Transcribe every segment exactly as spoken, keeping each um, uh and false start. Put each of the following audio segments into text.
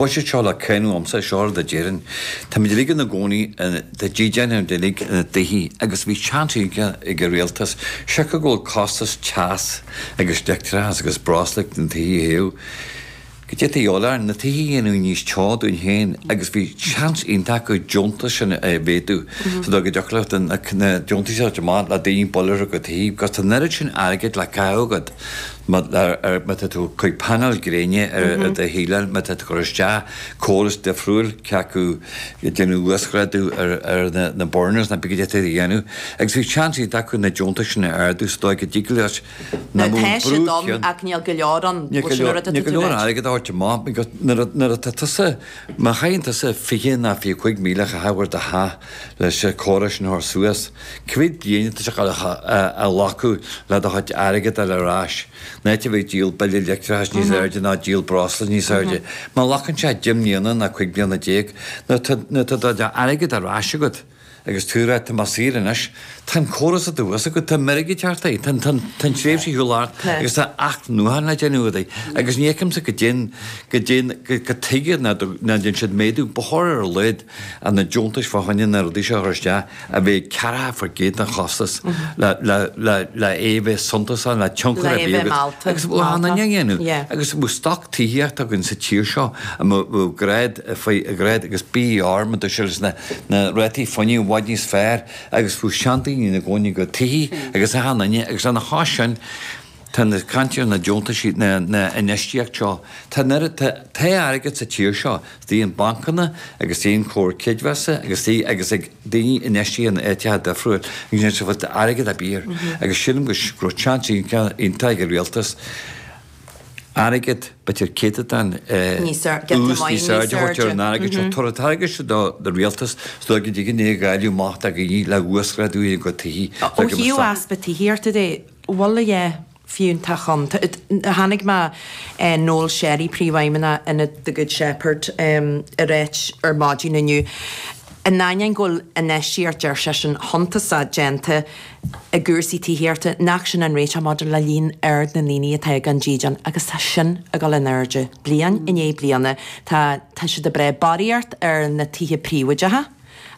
Buiséad seo le cúnamh agamsa, seo rud a déarfainn. Táimid uilig ina gcónaí tá dídean againn uilig ina dtithe agus bhí seans iontach ag an rialtas, siocair go bhfuil costas teas agus leictreachas agus breosla ag na tithe a théamh, go dté orainn na tithe a dhéanamh níos teo dúinn féin agus bhí seans iontach acu deontais sin a mhéadú sa dóigh go dtiocfadh leat na deontais a thabhairt amach le daoine bualadh ar a gcuid tithe because tá an oiread sin airgid le caitheamh agat. Má tá tú ag cur painéil gréine ar do shíleáil, má tá tú ag cur isteach córas difriúil, cé acu ag déanamh uasghrádú ar na burners nó pé cad é atá tú a dhéanamh. Agus bhí seans iontach acu na deontais sin a ardú sa dóigh go dtig leis Now tá siad ann ach níl go leor ann. Níl go leor, níl go leor airgead a thabhairt amach because nuair atá tusa, má chaitheann tusa fiche nó fiche cúig míle a chaitheamh ar do theach leis an córas sin a chur suas, cá mhéad bliain atá sé ag dul a ghlacadh le do chuid airgead a fháil ar ais? In áit a bheith ag díol bille leictreachais níos airde ná díol breosla níos airde. Má ghlacann sé deich mbliana ná cúig bliana déag, nuair atá d'airgead ar ais agat agus tú ag rá tá mé saor anois, tá an córas i do bhois agat, tá meirg ag teacht air, tá an tréimhse ar shiúl thart agus tá athnuachan le déanamh agat agus ní fheicimse go dtéann, go dtéann, go tuige nach ndéanann siad méadú, ba chóir ar a laghad na deontais fá choinne na rudaí seo a chur isteach a bheith ceathracha faoin gcéad den chostas le le é a bheith suntasach, le tionchar a bheith agat agus bheadh an dhéanamh agus bheadh stoc tithíochta againn sa tír seo a mbeadh grád faoi ghrád agus BER mar dúirt sé na na rátaí fuinnimh i bhfad níos fearr agus bheadh seandaoine ina gcónaí go tithí agus achan duine agus lena chois sin tá na caint ar na deontaisí na na infheistíocht seo tá an oiread tá tá airgead sa tír seo istigh in bancanna agus istigh in comhar creidmheasa agus istigh agus ag daoine infheistithe in áiteacha difriúil agus níl sa bhfuil airgead ar bith air agus sílim go raibh seans iontach ag an rialtas airgead b'fhéidir céatadán ús níos airde a thabhairt ar an airgead seo. Tabhair an t-airgead seo do rialtas is dóigh go dtig é a dháileadh amach do dhaoine le uasghrádú a gcuid tithí. Ó thaobh easpa tithíochta de, bhfuil a dhath fiúntach ann? Chonaic mé Noel Sherry, Príomhfheidhmeannach Ionad The Good Shepherd, ag ráit ar maidin inniu, in ainneoin go bhfuil infheistíocht, deir seisean, shuntasach déanta i gcúrsaí tithíochta, nach sin an réiteach maidir le líon ard na ndaoine atá gan dídean agus tá sin ag dul in airde bliain i ndiaidh bliana. Tá tá siad ag breith barraíocht ar na tithe príobháideacha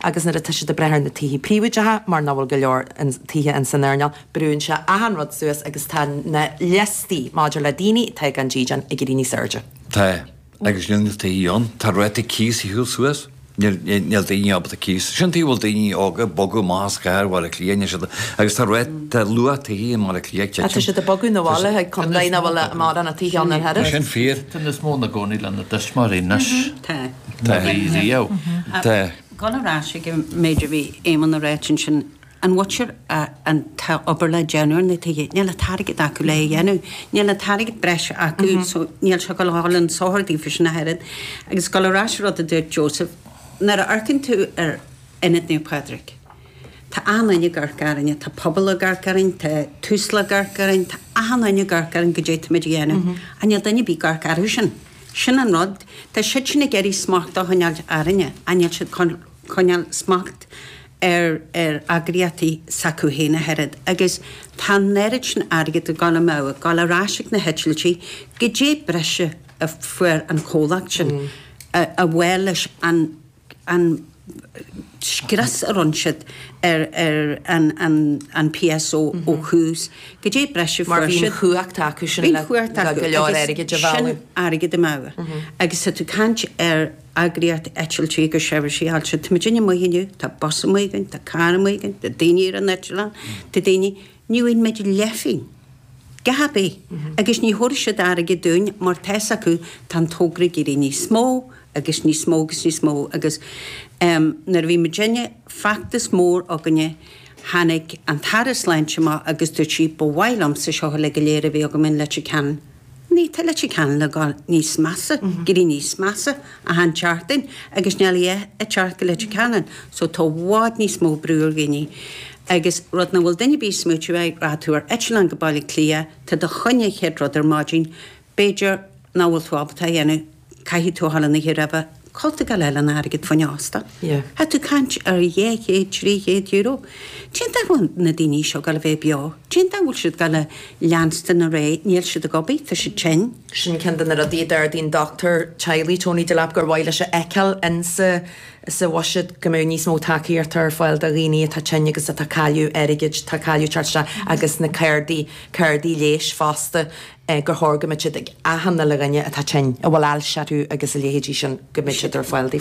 agus nuair atá siad ag breith ar na tithe príobháideacha mar nach bhfuil go leor tithe in san earnáil, brúnn sé achan rud suas agus tá na liostaí maidir le daoine atá gan dídean ag éirí níos airde. Tá, agus níl na tithe ann. Tá ráta cíos ar shiúl suas. Níl daoine ábalta cíos. Sin tuige a bhfuil daoine óga ag bogadh amach as cathair Bhaile Átha Cliath, níl siad, agus tá rét, tá luach tithe i mBaile Átha Cliath ag titim. Tá siad ag bogadh 'na bhaile chuig contae nach bhfuil mórán tithe ann ar Tá sin fíor. Tá níos mó ina gcónaí lena dtuismitheoirí anois Tá. ná bhí riamh. Tá. Dul ar ais ag an méid a bhí Éamonn a ráit ansin, An bhfuil an t-obair le déanamh ar na tithe, níl an t-airgead acu le é a dhéanamh. Níl an t-airgead breise acu so níl sé ag dul a dhul chun sochair daofa sin ach oiread. Agus dul ar ais ar rud a dúirt Joseph, nuair a amharcann tú ar Ionad Naomh Pádraig, tá achan duine ag amharc orainne, tá pobal ag amharc orainn, tá Tusla ag amharc orainn, tá achan duine ag amharc orainn goidé táimid a dhéanamh. Ach níl duine ar bith ag amharc orthu sin. Sin an rud. Tá siad sin ag iarraidh smacht a choinneáil orainne ach níl siad chun coinneáil smacht ar ar eagraíochtaí s'acu féin ach oiread agus tá an oiread sin airgid ag dul amú, ag dul ar ais ag na heitiltí, goidé breise a fuair an comhlacht sin a bhuí leis an an scrios a rinne siad ar ar an an an PSO ó thús, goidé breise a Mar fuair bhí an siad. chumhacht acu sin Bhí an le chumhacht le acu go leor agus airgid a sin mhealladh. airgead amú agus tá tú ag caint ar eagraíocht eitiltí agus seirbhísí fáilte. Tá muidinne amuigh inniu, tá bus amuigh againn, tá carr amuigh againn, tá daoine ar an eitleán, tá daoine, ní bhfaigheann muid leathphingin, a dhath ar bith, agus ní thabharfaidh siad airgead dúinn mar tá fhios acu tá an togra ag éirí níos mó agus níos mó agus níos mó agus em nuair a bhí muidinne, feachtas mór againne, tháinig an tAire Sláinte amach agus dúirt sí ba mhaith liomsa seo uilig go léir a bheith agam in Leitir Ceanainn. Ní, tá Leitir Ceanainn le dhul níos measa, ag éirí níos measa achan tseachtain agus níl a dhath ag teacht go Leitir Ceanainn so tá i bhfad níos mó brú ar dhaoine. Agus rud nach bhfuil duine ar bith ag smaoitiú air, rachaidh tú ar eitleán go Baile Átha Cliath, tá do choinne an chéad rud ar maidin, b'fhéidir nach bhfuil tú ábalta a dhéanamh, caithfidh tú a dhul an oíche roimhe, Cá bhfuil tú ag gabháil a fháil an airgead fá choinne óstán. Yeah. Tá tú ag caint ar dhá chéad, trí chéad euro. Cén dóigh a bhfuil na daoine seo ag gabháil a bheith beo? Cén dóigh a bhfuil siad ag gabháil a leanstan ar aghaidh? Níl siad ag obair, tá siad tinn. Sin ceann de na rudaí a d'ardaigh an dochtúir teaghlaigh Tony Delap gur mhaith leis a fheiceáil insa sa bhuiséad go mbeadh níos mó tacaíochta ar fáil do dhaoine atá tinn agus atá ag cailleadh airgid, atá ag cailleadh teacht isteach agus na cárdaí, cárdaí leighis fosta gur chóir go mbeadh siad ag achan uile dhuine atá tinn, a bhfuil ailse orthu agus a leithéidí sin, go mbeadh siad ar fáil daofa.